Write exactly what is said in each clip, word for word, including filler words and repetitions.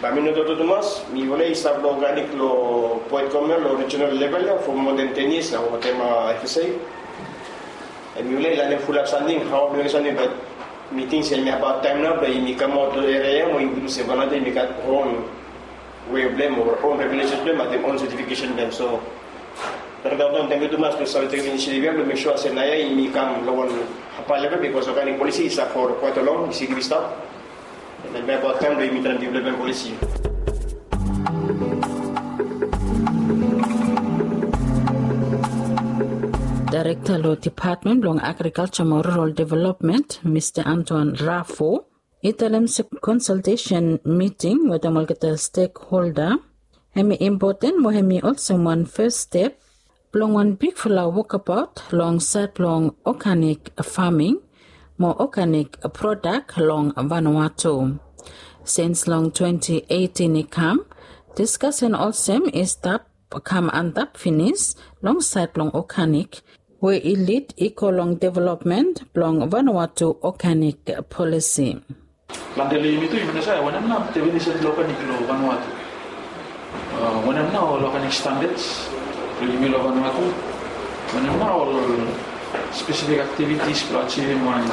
Bae mi no toktok tumas, mi olredi stap lo organic lo Poet Communal lo regional level ia for more than ten years nao, wetem FSA. Hemi olredi lanem fulap samting, hao mi mekem samting, be mi ting se hemi abaot taem nao blong yumi kamaot lo eria ia mo yumi luk se Vanuatu hemi gat own way blong hem o own regulations blong hem, wetem own certification blong hem. So Director Anton, tangkiu tumas blong save tekem initiative ia blong mek sua se naoia yumi kam lo wan hae level, bikos organic policy i stap for quite a long, i stap. Hemi abaot taem blong yumi traem develop hem policy. Daerekta lo Depatmen blong Agrikalja mo Rural Development, Mista Antoine Raffo, i talem se konsaltesen miting wetem olgeta stekholda hemi impoten mo hemi olsem wan fes step blong wan bigfala wokabaot long saed blong organic faming mo organic prodak long Vanuatu. Sins long twenti eitin i kam, diskasen olsem i stap kam antap finis long saed blong organic, we i lid i go long developmen blong Vanuatu organic polisi. Plante lo yumi tu, yumi no save wanem nao definisen blong organic lo Vanuatu. A, wanem nao ol organic standards blong yumi lo Vanuatu. Wanem nao ol spesifik aktivitis blong ajivim wan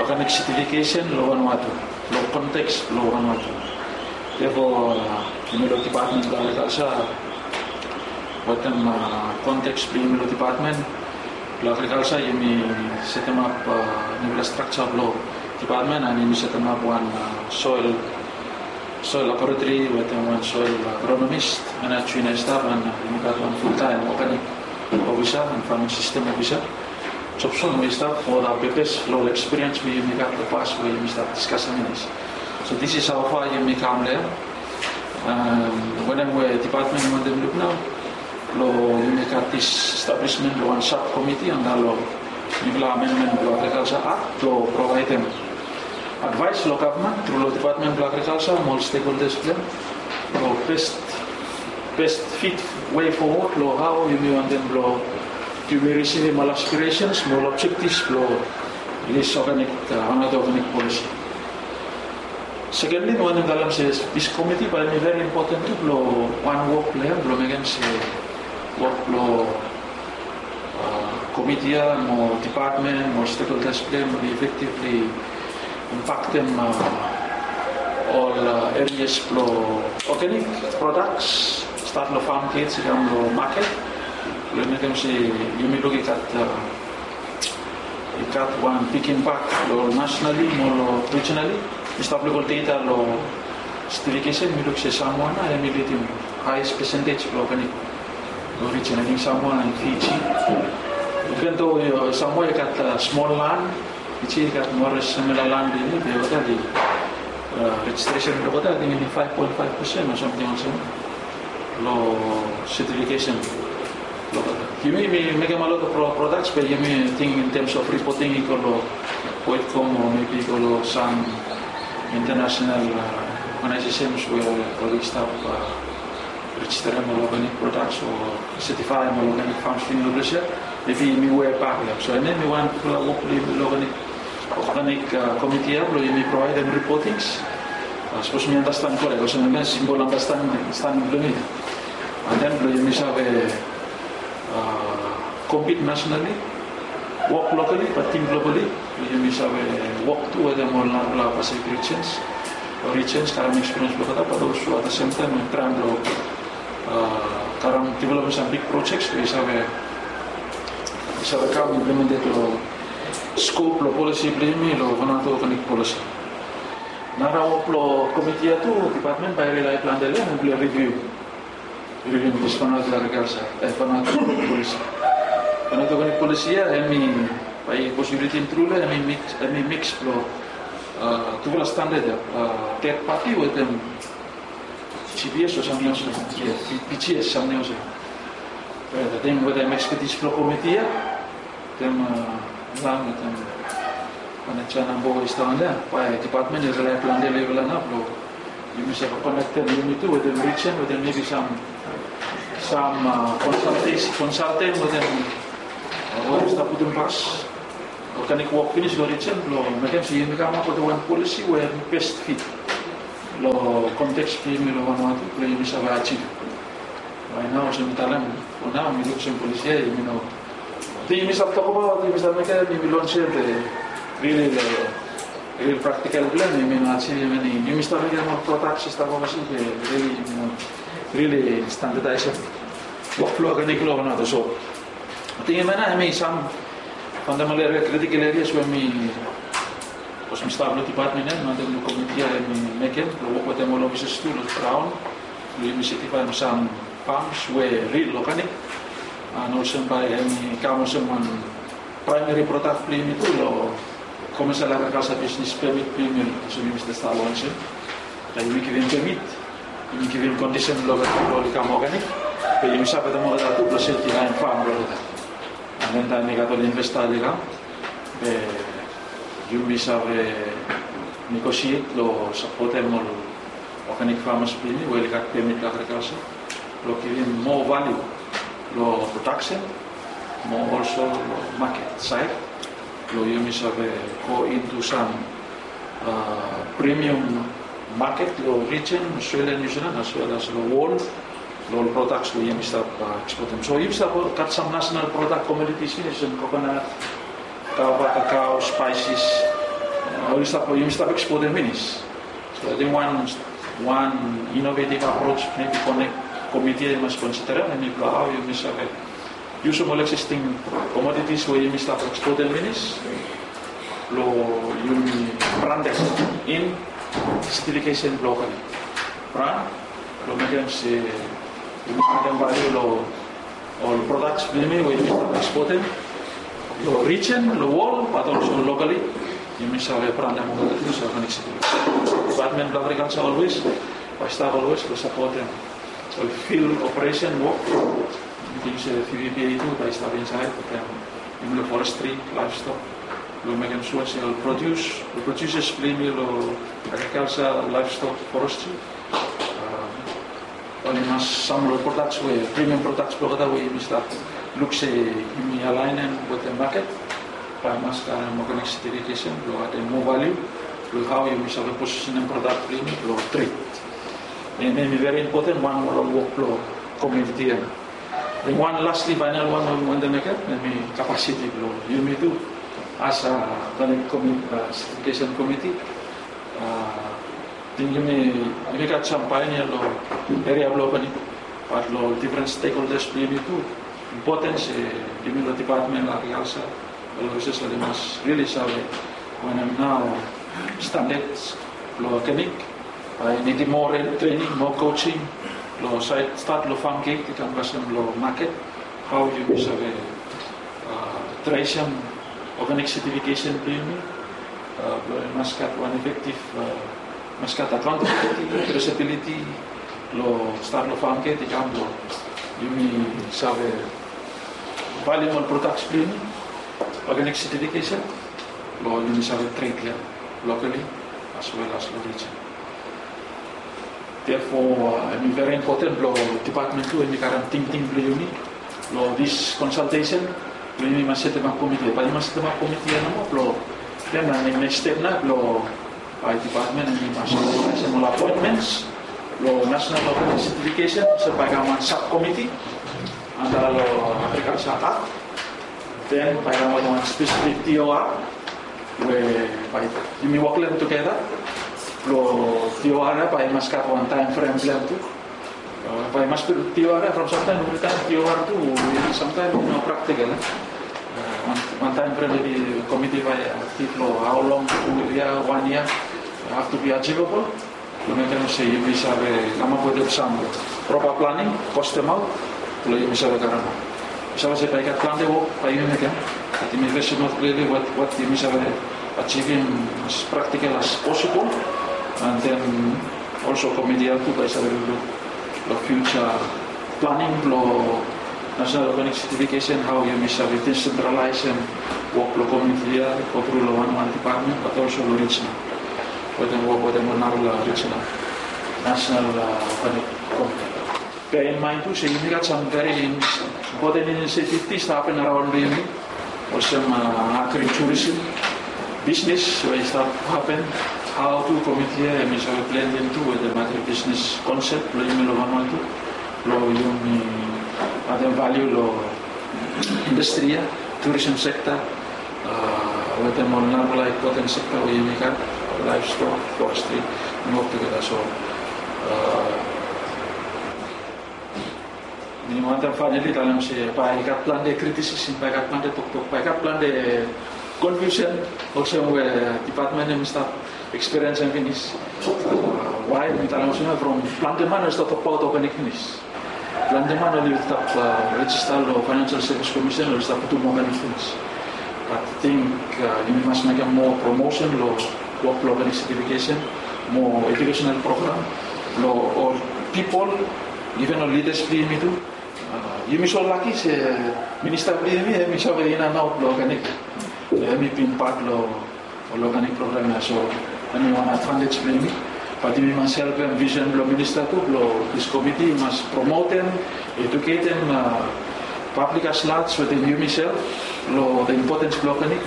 organic certification lo Vanuatu, lo konteks blo Vanuatu. Therefore, a, yumi lo Depatmen blo Agrikalja, wetem, a, konteks blo yumi lo Depatmen blo Agrikalja, yumi setemap, a, niufala strakja blo Depatmen, and yumi setemap wan, a, soil, soil laboratory wetem wan soil agronomist, and a join i stap, and, a, yumi gat wan fultaem organic ofisa and farming system ofisa. Jobson we i stap for the purpose lo ol ekspiriens we yumi gat lo pas we yumi stap diskasem finis. So this is how far yumi kam lo ia. Wanem we Depatmen i wantem luk nao, lo yumi gat this establishment blo wan subcommittee anda lo niufala amendment blo Agrikalja Act blo provaedem advaes lo gavman tru lo Depatmen blo Agrikalja mo ol stekholdas blo hem lo best, best fit way forward lo hao yumi wantem blo yumi risivim ol aspirations mo ol objectives blo this organic, a, Vanuatu organic policy. Secondly, mi wantem talem se this committee bae hemi very important tu blo wan wok blo hem blo mekem se wok blo, a, komiti ia mo depatmen mo stakeholders blo hem i effectively impaktem, a, ol, a, areas blo organic products, stat lo farm gate i kam lo maket. Blo mekem se yumi luk i gat, a, i gat wan big impact lo nationally mo lo regionally. Mi stap luk ol data lo certification, mi luk se Samoa nao hemi lidim highest percentage blo organic lo region, I think Samoa and Fiji. Even though, a, Samoa i gat, a, smol land, Fiji i gat moa o less similar land blo yumi, be olgeta, a, registration blo olgeta, I think hemi five point five percent o samting olsem lo certification. Yumi, yumi mekem a lot of pro-, products, be yumi ting in terms of reporting i go lo Poetcom o maybe i go lo sam international, a, organizations we oli stap, a, registerem ol organic products o certifyem ol organic farms blo yumi lo ples ia. Maybe yumi we bak ia. So hemia hemi wan bigfala wok blo yumi lo organic, organic, a, komiti ia blo yumi provaedem reportings. A, sapos mi andastan korek, olsem hemia simbol andastanding, andastanding blo mi. And then blo yumi save, a, compete nationally, wok locally, be think globally. Blo yumi save wok tu wetem ol narafala Pacific regions, o regions, karem experience blo olgeta, be also at the same time traem blo, a, karem developem sam big projects we i save, i save kam implemented lo scope lo policy blo yumi lo Vanuatu organic policy. Nara wok blo komiti ia tu, depatmen bae i rely plante lo hem blo review, review this Vanuatu agriculture, e, Vanuatu organic policy. Vanuatu organic policy ia hemi, bae sapos yu ridim tru lo hem, hemi mix, hemi mix blo, a, tufala standard ia, a, third party wetem GPS o samting olsem ia, PGS, samting olsem ia. Be wetem expertise blo komiti ia, wetem, a, wetem manejmen blo i stap long hem, bae depatmen i rely plante lo yufala nao blo yumi save konektem yumi tu wetem region, wetem maybe sam, sam, a, consultation, consultant wetem, a, we oli stap putum pas organic wok finis lo region blo mekem se yumi kamap wetem wan policy we hemi best fit. Lo konteks blong yumi lo Vanuatu blong yumi save achieve. Bae nao olsem mi talem, fo nao mi luk olsem polisi ya yumi no, ating yumi save tokbaot, yumi save mekem, yumi lonsem, be rili lo ril praktikal blong hem yumi no achieve eni. Yumi stap mekem ol prodaks i stap oversea, be rili yumi no rili standardaesem wok blong organik lo Vanuatu. So ating hemia nao hemi sam fundamental eria, critical areas we mi, sapos mi stap lo dipatmen ya, wantaem lo komiti ya hemi mekem lo wok wetem ol ofisas tu lo graon blong yumi setifaem sam fams we ril organik. An olsem bae hemi kam olsem wan praemeri prodak blong yumi tu lo komesel agrikalsa bisnis pemit blong yumi, olsem yumi stap lonsem. Bae yumi givim pemit, yumi givim kondisen lo wetem lo oli kam organik, be yumi save wetem olgeta tu blong setifaem fam blong olgeta. An den taem i gat ol investa oli kam, be yumi save negosiet lo sapotem ol organik famas blong yumi we oli gat pemit lo agrikalsa, lo givim moa valiu lo prodaksen, mo olso lo maket saed, lo yumi save go into sam, a, premium maket lo rijen, Australia, New Zealand, as well as lo wol, lo ol prodaks we yumi stap, a, ekspotem. So yumi stap gat sam nasenal prodak, komoditis finis, olsem kokonat, kava, kakao, spaesis, a, oli stap, yumi stap ekspotem finis. So ating wan, wan inovetiv aproj mebi konek komiti ya i mas konsiderem, hemi blong hao yumi save yusum ol eksisting komoditis we yumi stap ekspotem finis, lo yumi brandem in setifikesen blong organik. Brand, lo mekem se yumi adem valiu lo ol prodaks blong yumi we yumi stap ekspotem lo rijen, lo wol, bat olso lokali, yumi save brandem olgeta tu olsem organik setifikesen. Dipatmen blong agrikalsa olwes bae i stap olwes lo sapotem ol fil operesen wok. Mi ting se V P P A tu bae i stap insaed, bae hem, hem lo forestri, laevstok, lo mekem sua se ol produs, ol produsas blong yumi lo agrikalsa, laevstok, forestri, a, oli mas, sam lo prodaks we, premium prodaks blong olgeta we yumi stap luk se yumi alaenem wetem maket, bae i mas karem organik setifikesen lo adem moa valiu lo hao yumi save posisenem prodak blong yumi lo tred. Hemi, hemi veri impoten, wan moa lo wok blong komiti ya. Then wan lastly, faenal wan we mi wantem mekem, hemi kapasiti blong yumi tu as a organik komi-, a, setifikesen komiti. A, ating yumi, yumi gat sam paionia lo eria blong organik, bat lo difren stekholdas blong yumi tu, impoten se yumi lo dipatmen lo agrikalsa, ol ofisas oli mas rili save wanem nao standards blong organik, a, i nidim moa trening, moa coaching, lo saed stat lo fam get i kam kasem lo maket, hao yumi save, a, tresem organik setifikesen blong yumi, a, blong i mas gat wan efektiv, a, mas gat akaontabiliti, tresabiliti, lo stat lo fam get i kam blong yumi save valium ol prodaks blong yumi, organik setifikesen, lo yumi save tred ya lokali as well as lo rijen. Therefore, a, hemi veri impoten blong dipatmen tu hemi karem tingting blong yumi lo dis konsaltesen, blong yumi mas setemap komiti. Bae yumi mas setemap komiti ya nomo blong, then neks step nao blong bae dipatmen hemi mas organisem ol apoentmens lo nasenal organik setifikesen, olsem bae i kam wan sabkomiti anda lo agrikalsa akt. Then bae i kam wan spesifik T O R we bae yumi wok lo hem tugeta. Lo T O R ya bae i mas gat wan taem frem blong hem tu. A, bae i mas, T O R ya from samtaem, evritaem T O R tu samtaem i no praktikal, a. A, wan, wan taem frem, mebi komiti bae aktiv lo hao long, tu yia, wan yia, have to be achievable. Lo mekem se yumi save kamap wetem sam propa planing, kostem aot, lo yumi save karem. Yumi save se bae i gat plante wok bae yumi mekem, bat yumi fes aot klirli wat, wat yumi save ajivim as praktikal as posibol, and then olso komiti ya tu bae i save lukluk lo fiuja planing blo nasenal organik setifikesen, hao yumi save disentralaesem wok blo komiti ya, go tru lo wanwan dipatmen, bat olso lo rijinal, wetem wok wetem ol narafala rijinal, nasenal, a, organik komiti. Bear in mind tu se yumi gat sam veri impoten inisiativ i stap hapen araon blo yumi, olsem, a, agritourism bisnis we i stap hapen Hao tu komiti ya hemi save blendem tu wetem agribisnes konsep blong yumi long Vanuatu, blong yumi adem valiu long indastri ya, turism sekta, wetem ol narafala impoten sekta we yumi gat, laevstok, forestri, yumi wok tugeta. So mi wantem faenali talem se bae i gat plante kritisis, bae i gat plante toktok, bae i gat plante konfiusen olsem we dipatmen ya mi stap ekspiriensim finis. Wae mi talem olsem ya, from plante man oli stap tokbaot oganik finis. Plante man oli stap rejista long Financial Service Commission, oli stap putum oganik finis. Bat ating yumi mas mekem moa promosen long wok blong oganik setifikesen, moa ejukesenal program long ol pipol, iven ol lidas blong yumi tu. Yumi so laki se minista blong yumi hemi save inanaot blong oganik. Hemi bin pat long ol oganik program ya, so hemi wan advantej blong yumi. Bat yumi mas helpem visen blong minista tu blong dis komiti i mas promotem, eduketem pablik at large wetem yumiself long the importance blong oganik.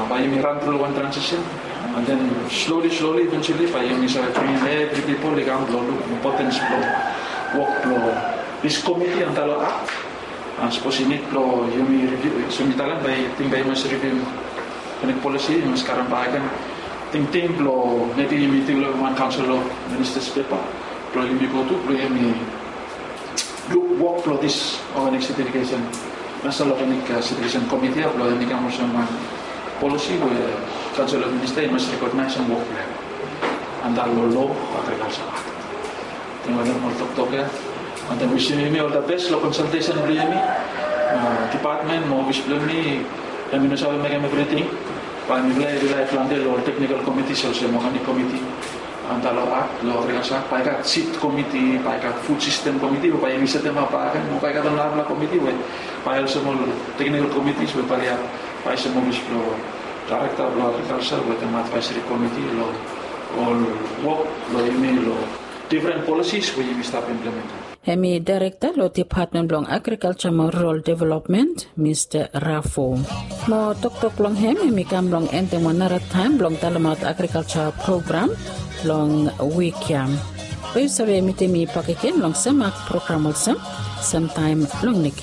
Bae yumi ran tru long wan transisen, and then slowly slowly eventually bae yumi save bringim evri pipol i kam blong luk importance blong wok blong dis komiti antap long akt. And sapos i nid blong yumi riviu, so mi talem bae ting bae i mas riviu oganik polisi, i mas karem bakegen tingting blong mebi yumi developem wan Council of Ministers pepa blong yumi go tu blong yumi luk wok blong dis oganik setifikesen, National Organic Certification Committee ya, blong yumi kam olsem wan polisi we Council of Minister i mas rekognaesem wok blong hem antap long lo agrikalsa. Ating wantem ol toktok ya. Wantem wisim yumi ol the best long konsaltesen blong yumi. Dipatmen mo ofis blong yumi hemi no save mekem evriting. Bae mifala i rilai plante long ol teknikal komitis olsem oganik komiti antap long akt, long agrikalsa akt, bae i gat sid komiti, bae i gat fud sistem komiti we bae yumi setemap bakegen, mo bae i gat ol narafala komiti we bae olsem ol teknikal komitis we bae oli advaesem ofis blong daerekta blong agrikalsa wetem advaeseri komiti long ol wok blong yumi long difren polisis we yumi stap implementem. Hemi daerekta long Dipatmen blong Agrikalsa mo Rural Development, Mista Rafo. Mo toktok blong hem hemi kam blong endem wan nara taem blong talemaot agrikalsa program blong wik ya. Bae yu save mitim mi bakegen long sem akt program olsem, semtaem long neks.